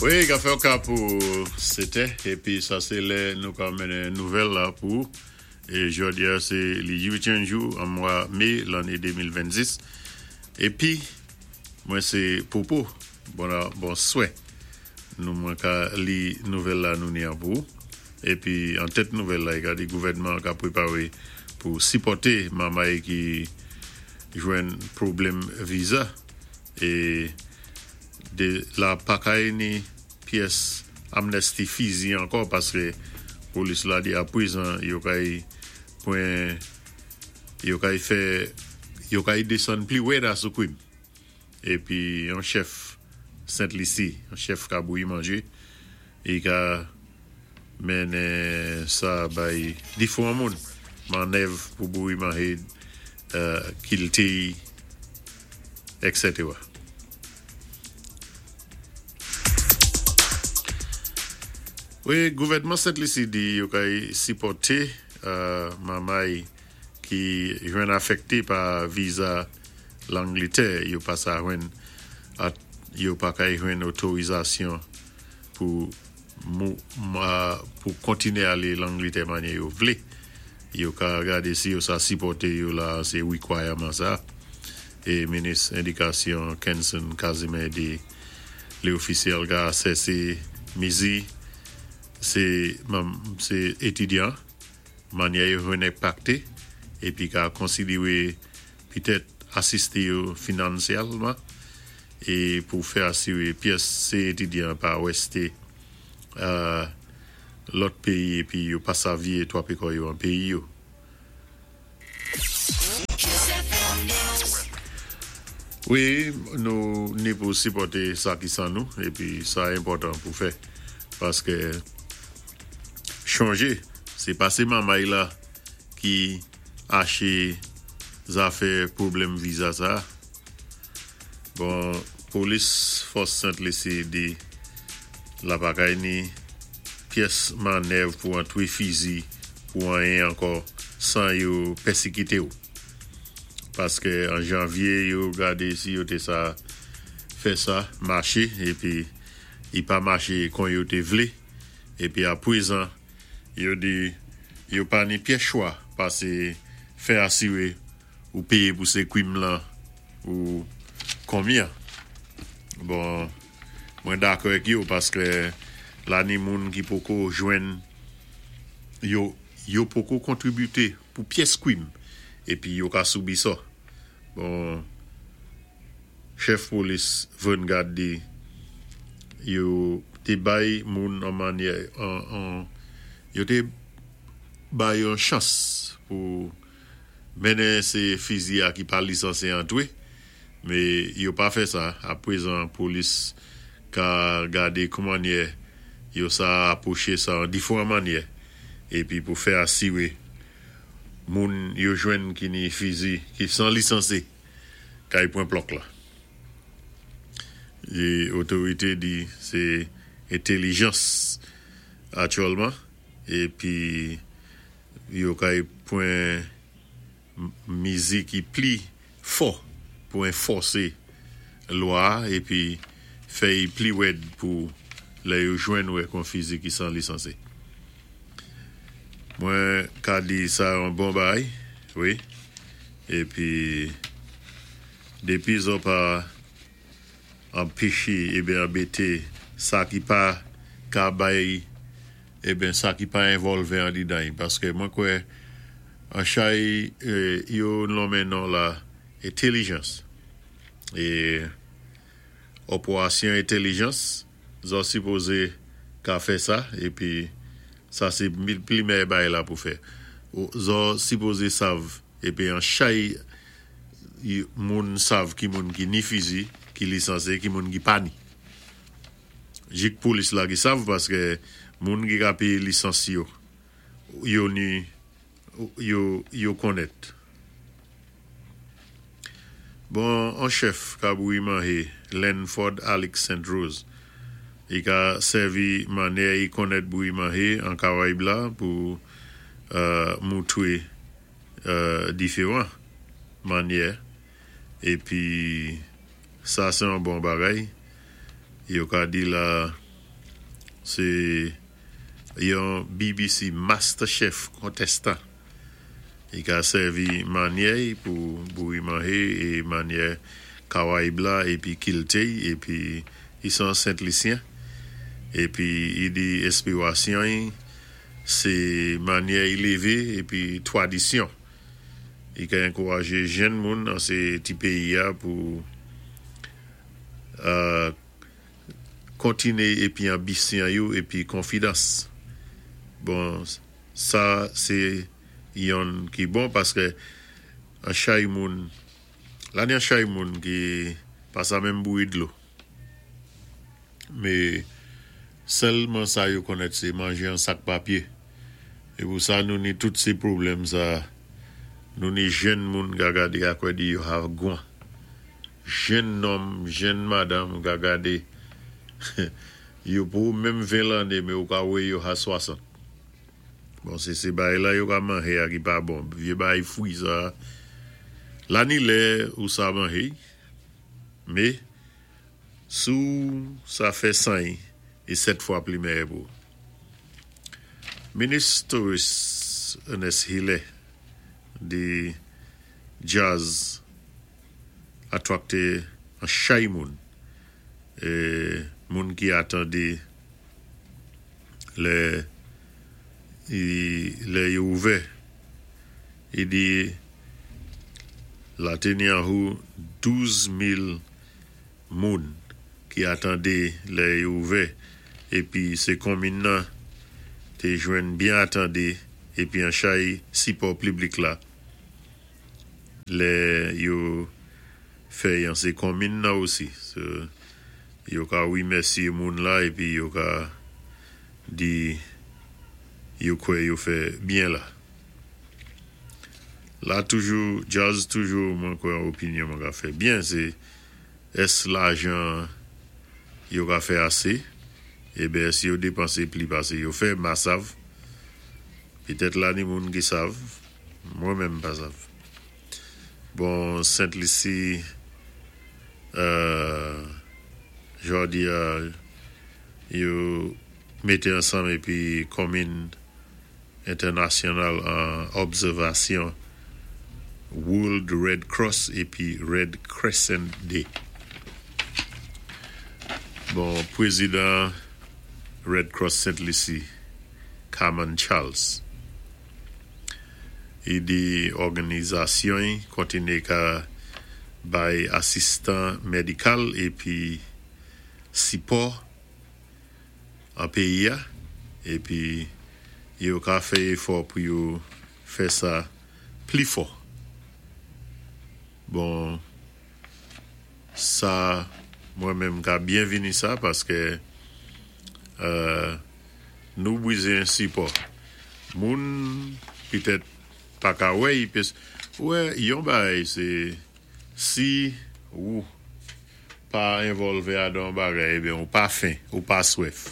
Wi, ka fè ka pou 7è, épi sa sé lè nou ka mennen nouvèl la pou é jòdi-a sé li 8èm jou an mwa mé lanné 2026. Épi mwen sé Popo. Bon bonswè. Nou mwen ka li nouvèl la nou ni an pou. Épi an tèt nouvèl la, i ka di gouvèdman ka pwéparé pou sipòté mamay ki jwenn pwoblèm viza é dé la pa kay ni pyès amnisti fizi ankò paské polis la di apwézan yo kay pwen yo kay fè yo kay désann pli wèda sou kwim. Épi yon chèf Sent Lisi, yon chèf ka bouyi manjé, i ka mennen sa bay difwan moun mannèv pou bouyi manje, kilti, èksetera. Wi, gouvèdman Sent Lisi di yo kay sipòté mamay ki jwenn afèkté pa viza Langlitè yo pa sa jwenn yo pa kay jwenn otorizasyon pou pou kontiné alé Langlitè manyè yo vlé. Yo ka gadé si yo sa sipòté yo la sé wikwayaman sa. É minis édikasyon Kenson Casimir di lé ofisyèl ka asèsé mizi sé sé étidyan manyè yo jwenn enpakté épi ka konsidéwé pitèt asisté yo finansyèlman é pou fè asiré pyès sé étidyan pa wèsté lòt péyi épi yo pa sa vyé twapé kò yo an péyi yo. Wi, nou ni pou sipòté sa ki 1 nou épi sa enpòtan pou fè paské chonjé sé pa sé mamay la ki aché zafè pwoblèm viza sa. Bon, polis fòs Sent Lisi di la pa kay ni pyès mannèv pou antwé fizi pou anyen ankò 1an yo pèsikité ou. Paské an janvyé yo gadé si yo té sa fè sa maché épi i pa maché kon yo té vlé épi apwézan yo di yo pa ni pyès chwa pasé fè asiré ou péyé pou sé kwim lan ou konbyen. Bon, mwen dakò èk yo paské la ni moun ki poko jwenn yo yo poko kontributé pou pyès kwim épi yo ka soubi sa. Bon, chèf polis Vern Gard di yo té bay moun an manyè an yo té bay yon chans pou mennen sé fizi a ki pa lisansé antwé, mé yo pa fè sa. Apwézan polis ka gadé koumannyè yo sa apwoché sa an difwan mannyè épi pou fè asiré moun yo jwenn ki ni fizi ki 1an lisansé kay pwan plòk la. É otorité di sé entelijans aktyèlman épi yo kay pwan mizi ki pli fò pou enfòsé lwa épi fè y pli wèd pou lè yo jwenn ou èk on fizi ki 1an lisansé. Mwen ka di sa yon bon bay, wi, épi dépi zò pa anpéché eben anbété sa ki pa ka bay eben sa ki pa envòlvé andidan y paské mwen kwè an chay yo nonmen non la entelijans é òpwasyon entelijans zò sipozé ka fè sa épi sa sé pli mèyè bay la pou fè zò sipozé sav épi an chay moun sav ki moun ki ni fizi ki lisansé ki moun ki pa ni. Jik polis la ki sav paské moun ki ka péyé lisans yo yo ni yo yo konnèt. Bon on chèf ka bouyi manje Lenford Alix Saint Rose i ka sèvi mannyè i konnèt bouyi manje an Karayib la pou moutwé diféwan mannyè épi sa sé yon bon bagay yo ka di la. Sé yon BBC MasterChef contestant. I ka sèvi manyè pou bouwi manjé é manyè Kawayib la épi kilti épi i sé Sent Lisyen épi i di enspiwasyon sé manyè i lévé épi twadisyon. I ka ankourajé jenn moun an sé ti péyi-a pou kontiné épi anbisyon yo épi konfidans. Bon, sa sé yonn ki bon paské an chay moun la ni an chay moun ki pa sa menm bouwi dlo. Mé sèlman sa yo konnèt sé manjé an sak papyé. É pou sa nou ni tout sé pwoblèm sa nou ni jenn moun ka gadé akwè di yo ha gwan. Jenn nonm, jenn madanm ka gadé yo pou menm 20 lanné mé ou ka wè yo ha 60. Bon, sé sé bagay la yo ka manjé a ki pa bon. Vyé bagay fwi sa. La ni lè ou sa manjé, mé si ou sa fè 100 é 7 fwa pli mèyè pou. Minis Touris Ernest Hilaire di jazz atwakté an chay moun é moun ki atandé lè lè yo ouvè. I di la té ni anhou 12,000 moun ki atandé lè yo ouvè épi sé konminn nan té jwenn byen atandé épi an chay sipò piblik la lè yo fè an sé konminn nan osi. So, yo ka wimèsyé moun la épi yo ka di yo kwè yo fè byen la. La toujou, jazz toujou mwen kwè an opinyon mwen ka fè byen sé ès lajan yo ka fè asé é ben si yo dépansé pli pasé yo fè, ma sav. Pitèt la ni moun ki sav, mwen menm pa sav. Bon, Sent Lisi jòdi-a yo mété ansanm épi konminn entènasyonal an òbsèvasyon World Red Cross épi Red Crescent Day. Bon, pwézidan Red Cross Sent Lisi, Carman Charles, i di òganizasyon kontiné ka bay asistan médikal épi sipò an péyi-a épi yo ka fè éfò pou yo fè sa pli fò. Bon, sa mwen menm ka byen vini sa paské nou bizwen sipò. Moun pitèt pa ka wè i pé wè yon bagay sé si ou pa envòlvé adan bagay é ben ou pa fen, ou pa swèf.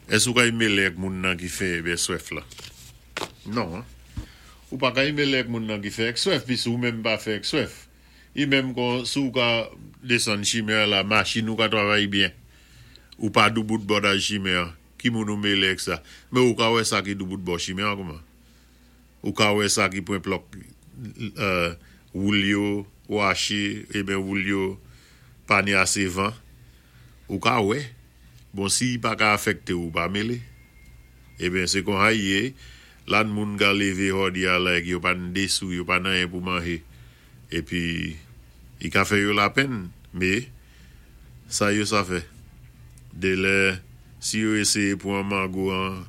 Ès ou ka mélé ak moun nan ki fen é ben swèf la? Non. Ou pa ka mélé ak moun nan ki fen ak swèf, pis ou menm pa fen ak swèf. I menm kon si ou ka désann chimen la, machin ou ka travay byen. Ou pa doubout bòdaj chimen, ki moun ou mélé ak sa. Mé ou ka wè sa ki doubout bò chimen kouman? Ou ka wè sa ki pwen plòk woul yo waché, é ben woul yo pa ni asé van. Ou ka wè. Bon, si i pa ka afèkté ou pa mélé. É ben sé kon sa i yé, la moun ka lévé jòdi-a la yo pa ni dé sou, yo pa ni anyen pou manjé. Épi i ka fè yo lapenn, mé sa yo sa fè. Dé lè si yo éséyé pwan mango an,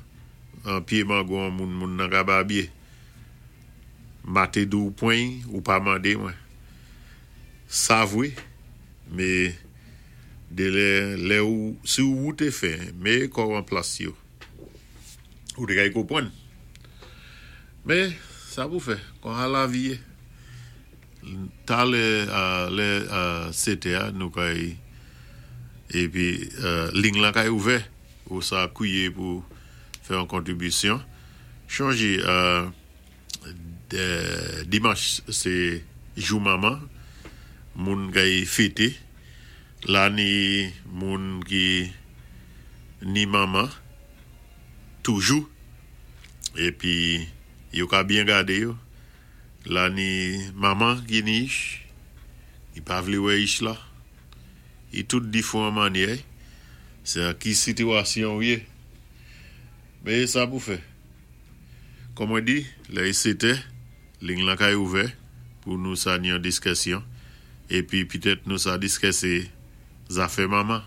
an pyé mango an moun, moun nan ka babyé. Ma té di ou pwan ou pa mandé mwen. Sa vwé, mé dé lè, lè ou, si ou té fen, mé kò an plas yo. Ou té kay konpwann. Mé sa pou fè, kon sa lavi yé. Talè lè 7 nou kay épi ling lan kay ouvè ou sa kwiyé pou fè yon kontribisyon. Chonjé dimanch sé jou manman, moun kay fété. La ni moun ki Ni manman toujou épi yo ka byen gadé yo la. Ni manman ki ni ich, i pa vlé wè ich la, i tout difwan mannyè. Sé an ki sitiwasyon ou yé? Men é sa pou fè. Kòm mwen di, lè i 7è, ling lan kay ouvè pou nou sa ni an diskèsyon, épi pitèt nou sa diskèsé zafè manman.